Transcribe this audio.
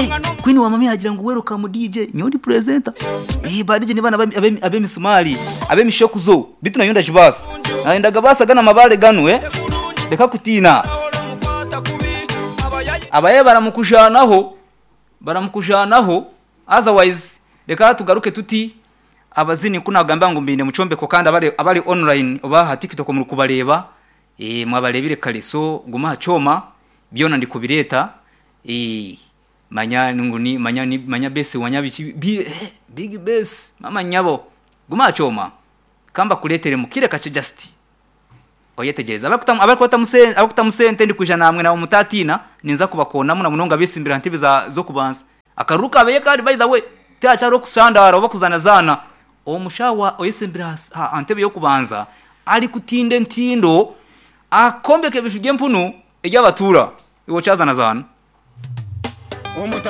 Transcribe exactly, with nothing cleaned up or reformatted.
Hey, Queen wa mami agira ngu welcome D J, nyowe ndi presenter. Eh, ba D J ni bana abe abemisumari, abemishokuzo, bitu nayo ndajibasa. Nayendaga basa gana mabale ganu eh. Reka kutina. Abaye baramukujanaho, baramukujanaho. Otherwise reka tugaruke tuti abazini kunagamba ngu mbine mucombeko, kandi abari abari online oba ha TikTok muri kubareba, eh mwabarebire kare. So guma hacoma byona ndikubireta. eh manya nguni manya ni manya base wanya biki bi, eh, big base mama nyabo, guma hacoma kamba kuletere mukire kace, just oyetegereza abakuta abakuta musente abakuta musente ndi kuja namwe na mutatina ninza kubakonamu na munonga bisimbira ntibe za zo kubanza akaruka abeye. Kandi by the way, tyacharo kusandara oba kuzana zana omushawa oyesimbira antebe yo kubanza ali kutinde ntindo akombeke bishuge empunu egy'abatura iwo kyazana zana. Omuta.